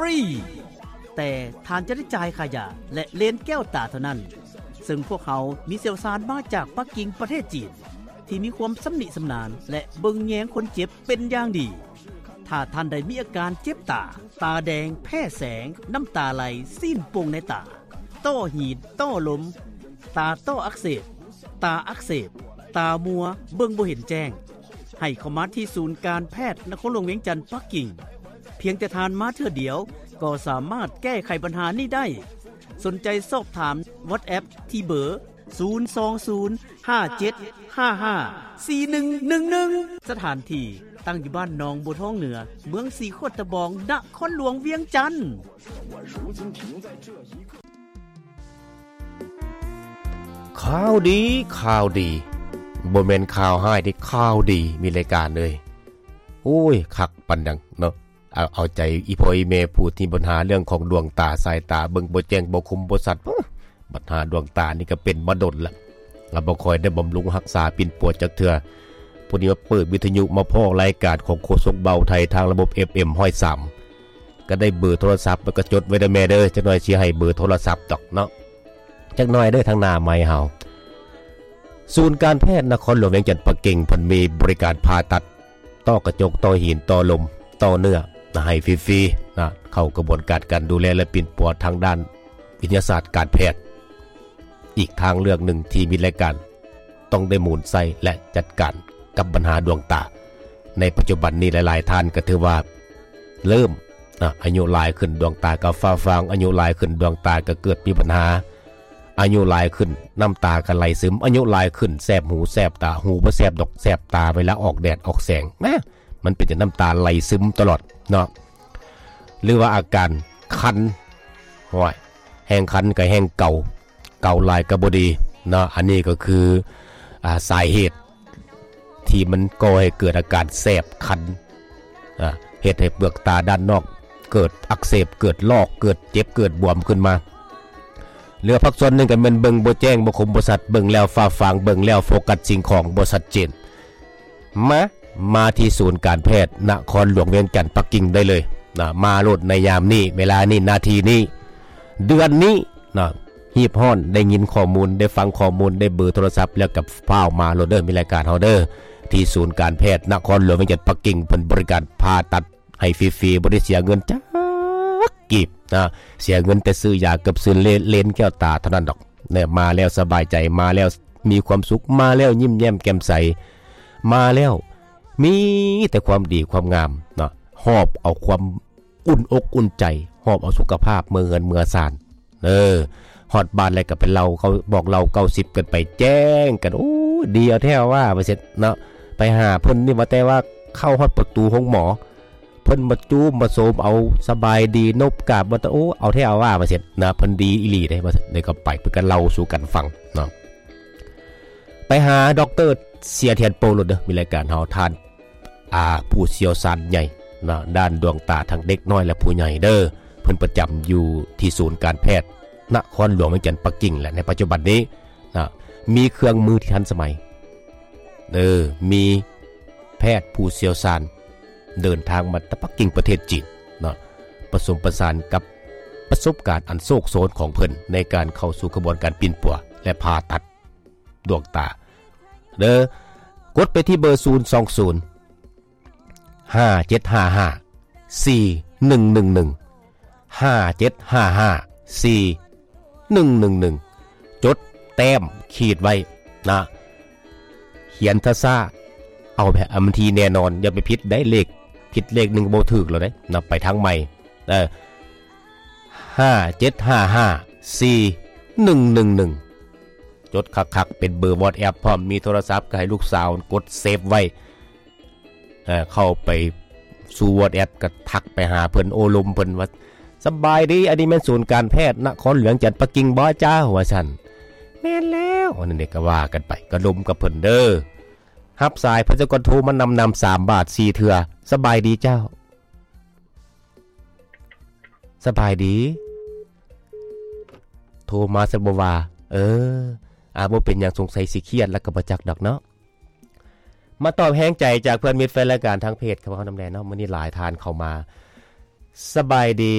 ຟຣີ ແຕ່ທ່ານຈະໄດ້ຈ່າຍຄ່າຢາ ແລະ ເລນແກ້ວຕາເທົ່ານັ້ນ, ເຊິ່ງພວກເຮົາມີຊ່ຽວຊານມາຈາກປັກກິ່ງ ປະເທດຈີນ ທີ່ມີຄວາມຊຳນິຊຳນານ ແລະ ເບິ່ງແຍງຄົນເຈັບເປັນຢ່າງດີ. ຖ້າທ່ານໃດມີອາການເຈັບຕາ, ຕາແດງ, ແພ້ແສງ, ນ້ຳຕາໄຫຼ, ຊີ້ນໂປ່ງໃນຕາ, ຕ້ອຫີນ, ຕ້ອລົມ, ຕາຕ້ອອັກເສບ, ຕາອັກເສບ, ຕາມົວ, ເບິ່ງບໍ່ເຫັນແຈ້ງ, ໃຫ້ເຂົ້າມາທີ່ສູນການແພດນະຄອນຫຼວງວຽງຈັນ ປັກກິ່ງ. ພຽງແຕ່ທ່ານມາເທື່ອດຽວ ກໍສາມາດແກ້ໄຂບັນຫານີ້ໄດ້. ສົນໃຈສອບຖາມ WhatsApp ທີ່ເບີ ສູນສອງສູນ ຫ້າເຈັດຫ້າຫ້າ ສີ່ໜຶ່ງໜຶ່ງໜຶ່ງ. ສະຖານທີ່ຕັ້ງຢູ່ບ້ານໜອງບົວທອງເໜືອ, ເມືອງສີໂຄດຕະບອງ, ນະຄອນຫຼວງວຽງຈັນ. ຂ່າວດີ, ຂ່າວດີ, ບໍ່ແມ່ນຂ່າວຮ້າຍເດ້, ຂ່າວດີ, ມີລາຍການເລີຍ. ໂອ້ຍ ຄັກປານຫຍັງເນາະ. ເອົາ ເອົາໃຈອີ່ພໍ່ອີ່ແມ່ຜູ້ທີ່ມີບັນຫາເລື່ອງຂອງດວງຕາ, ສາຍຕາເບິ່ງບໍ່ແຈ້ງ, ບໍ່ຄົມ, ບໍ່ຊັດ. ບັນຫາດວງຕານີ້ກໍເປັນມາດົນລະ, ລະບໍ່ຄ່ອຍໄດ້ບຳລຸງຮັກສາປິ່ນປົວຈັກເທື່ອ. ຜູ້ນີ້ມາເປີດວິທະຍຸ ມາພໍ້ລາຍການຂອງໂຄສົກເບົາໄທທາງລະບົບ ເອັຟເອັມ ຮ້ອຍສາມ ກໍໄດ້ເບີໂທລະສັບ, ແລ້ວກໍຈົດໄວ້ເດີແມ່ເດີ, ຈັກໜ່ອຍຊິໃຫ້ເບີໂທລະສັບດອກເນາະ. ຈັກໜ່ອຍເດີ ທາງໜ້າໄມເຮົາ. ສູນການແພດນະຄອນຫຼວງວຽງຈັນ ປັກກິ່ງ ເພິ່ນມີບໍລິການຜ່າຕັດ ຕໍ່ກະຈົກ, ຕໍ່ຫີນ, ຕໍ່ລົມ, ຕໍ່ເນື້ອ ໃຫ້ຟຣີໆນະ. ເຂົ້າກະບວນການການດູແລ ແລະ ປິ່ນປົວທາງດ້ານວິທະຍາສາດການແພດ. ອີກທາງເລືອກໜຶ່ງທີ່ມີລາຍການ ຕ້ອງໄດ້ໝູນໃສ່ ແລະ ຈັດການກັບບັນຫາດວງຕາ. ໃນປັດຈຸບັນນີ້ ຫຼາຍໆທ່ານກໍຖືວ່າເລີ່ມ ອາ ອາຍຸຫຼາຍຂຶ້ນ ດວງຕາກໍຟ້າຟາງ, ອາຍຸຫຼາຍຂຶ້ນ ດວງຕາກໍເກີດມີບັນຫາ, ອາຍຸຫຼາຍຂຶ້ນ ນ້ຳຕາກໍໄຫຼຊຶມ, ອາຍຸຫຼາຍຂຶ້ນ ແສບຫູແສບຕາ, ຫູບໍ່ແສບດອກ ແສບຕາເວລາອອກແດດອອກແສງ. ນະ ມັນເປັນຈັ່ງ ນ້ຳຕາໄຫຼຊຶມຕະຫຼອດເນາະ. ຫຼືວ່າອາການຄັນ, ໂອ້ຍ ແຮງຄັນກໍແຮງເກົາ, ເກົາຫຼາຍກໍບໍ່ດີເນາະ. ອັນນີ້ກໍຄື ອາ ສາເຫດທີ່ມັນກໍ່ໃຫ້ເກີດອາການແສບຄັນ, ອາ ເຮັດໃຫ້ເປືອກຕາດ້ານນອກເກີດອັກເສບ, ເກີດລອກ, ເກີດເຈັບ, ເກີດບວມຂຶ້ນມາ. ຫຼືວ່າພາກສ່ວນໜຶ່ງກໍແມ່ນເບິ່ງບໍ່ແຈ້ງ, ບໍ່ຄົມ, ບໍ່ຊັດ, ເບິ່ງແລ້ວຟ້າຟາງ, ເບິ່ງແລ້ວໂຟກັສສິ່ງຂອງບໍ່ຊັດເຈນ. ມາ ມາທີ່ສູນການແພດນະຄອນຫຼວງວຽງຈັນ ປັກກິ່ງໄດ້ເລີຍນະ. ມາໂລດໃນຍາມນີ້, ເວລານີ້, ນາທີນີ້, ເດືອນນີ້ນະ. ຮີບຮ້ອນ, ໄດ້ຍິນຂໍ້ມູນ, ໄດ້ຟັງຂໍ້ມູນ, ໄດ້ເບີໂທລະສັບແລ້ວກໍຟ້າວມາໂລດເດີ, ມີລາຍການເຮົາເດີ ທີ່ສູນການແພດນະຄອນຫຼວງວຽງຈັນ ປັກກິ່ງ. ເພິ່ນບໍລິການຜ່າຕັດໃຫ້ຟຣີໆ, ບໍ່ໄດ້ເສຍເງິນຈັກກີບນະ, ເສຍເງິນແຕ່ຊື້ຢາກັບຊື້ເລນແກ້ວຕາເທົ່ານັ້ນດອກ. ແນະ ມາແລ້ວສະບາຍໃຈ, ມາແລ້ວມີຄວາມສຸກ, ມາແລ້ວຍິ້ມແຍ້ມແຈ່ມໃສ, ມາແລ້ວມີແຕ່ຄວາມດີຄວາມງາມເນາະ, ຫອບເອົາຄວາມອຸ່ນອົກອຸ່ນໃຈ, ຫອບເອົາສຸຂະພາບເມືອເຮືອນເມືອຊານ. ເອີ ຮອດບ້ານແລ້ວກໍໄປເລົ່າ, ເຂົາບອກເລົ່າເກົ້າສິບກັນໄປ, ແຈ້ງກັນ, ໂອ້ ດີເອົາແທ້ວ່າ ວ່າຊັ້ນເນາະ. ໄປຫາເພິ່ນນີ້ວ່າແຕ່ວ່າເຂົ້າຮອດປະຕູໂຮງໝໍ, ເພິ່ນມາຈູມມາໂສມເອົາ, ສະບາຍດີ, ນົບກາບ, ວ່າແຕ່ ໂອ້ ເອົາແທ້ເອົາວ່າ ວ່າຊັ້ນນະ, ເພິ່ນດີອີ່ຫຼີເດ້ ວ່າຊັ້ນ. ແລ້ວກໍໄປ ເພິ່ນກໍເລົ່າສູ່ກັນຟັງເນາະ. ໄປຫາດັອກເຕີເສຍທຽນໂປໂລດເດີ, ມີລາຍການເຮົາ, ທ່ານ ອາ ຜູ້ຊ່ຽວຊານໃຫຍ່ເນາະ ດ້ານດວງຕາທັງເດັກນ້ອຍ ແລະ ຜູ້ໃຫຍ່ເດີ. ເພິ່ນປະຈຳຢູ່ທີ່ສູນການແພດນະຄອນຫຼວງວຽງຈັນ ປັກກິ່ງ ແລະ ໃນປັດຈຸບັນນີ້ນະ ມີເຄື່ອງມືທີ່ທັນສະໄໝ. ເອີ ມີແພດຜູ້ຊ່ຽວຊານເດີນທາງມາແຕ່ປັກກິ່ງ ປະເທດຈີນເນາະ, ປະສົມປະສານກັບປະສົບການອັນໂຊກໂຊນຂອງເພິ່ນ ໃນການເຂົ້າສູ່ຂະບວນການປິ່ນປົວ ແລະ ຜ່າຕັດ ດວງຕາເດີ. ກົດໄປທີ່ເບີ ສູນສອງສູນ ຫ້າເຈັດຫ້າຫ້າ ສີ່ໜຶ່ງໜຶ່ງໜຶ່ງ ຫ້າເຈັດຫ້າຫ້າ ສີ່ໜຶ່ງໜຶ່ງໜຶ່ງ ຈົດແຕ້ມຂີດໄວ້ນະ, ຂຽນຊ້າໆ ເອົາແບບ ເອົາທີ່ແນ່ນອນ, ຢ່າໄປຜິດໄດ໋, ເລກຜິດເລກໜຶ່ງບໍ່ຖືກແລ້ວເດ້ນະ, ໄປທາງໃໝ່. ເອີ ຫ້າເຈັດຫ້າຫ້າ ສີ່ໜຶ່ງໜຶ່ງໜຶ່ງ ຈົດຄັກໆ ເປັນເບີ WhatsApp ພ້ອມ, ມີໂທລະສັບກໍໃຫ້ລູກສາວກົດເຊບໄວ້. ເອີ ເຂົ້າໄປສູ່ WhatsApp ກໍທັກໄປຫາເພິ່ນ, ໂອ້ລົມເພິ່ນວ່າ ສະບາຍດີ, ອັນນີ້ແມ່ນສູນການແພດນະຄອນຫຼວງວຽງຈັນ ປັກກິ່ງບໍ່ເຈົ້າ? ວ່າຊັ້ນ. ແມ່ນແລ້ວ, ອັນນັ້ນເດ ກໍວ່າກັນໄປ, ກໍລົມກັບເພິ່ນເດີ. ຮັບສາຍ ເພິ່ນສະກ່ອນໂທມານຳໆ ສາມບາດ ສີ່ເທື່ອ. ສະບາຍດີເຈົ້າ. ສະບາຍດີ. ໂທມາຊັ້ນບໍ່ວ່າ. ເອີ ອາ ບໍ່ເປັນຫຍັງ, ສົງໄສຊິຄຽດແລ້ວກໍບໍ່ຈັກດອກເນາະ. ມາຕອບແຮງໃຈຈາກເພື່ອນມິດແຟນລາຍການທາງເພຈຂອງເຮົານຳແດ່ເນາະ. ມື້ນີ້ຫຼາຍທ່ານເຂົ້າມາ. ສະບາຍດີ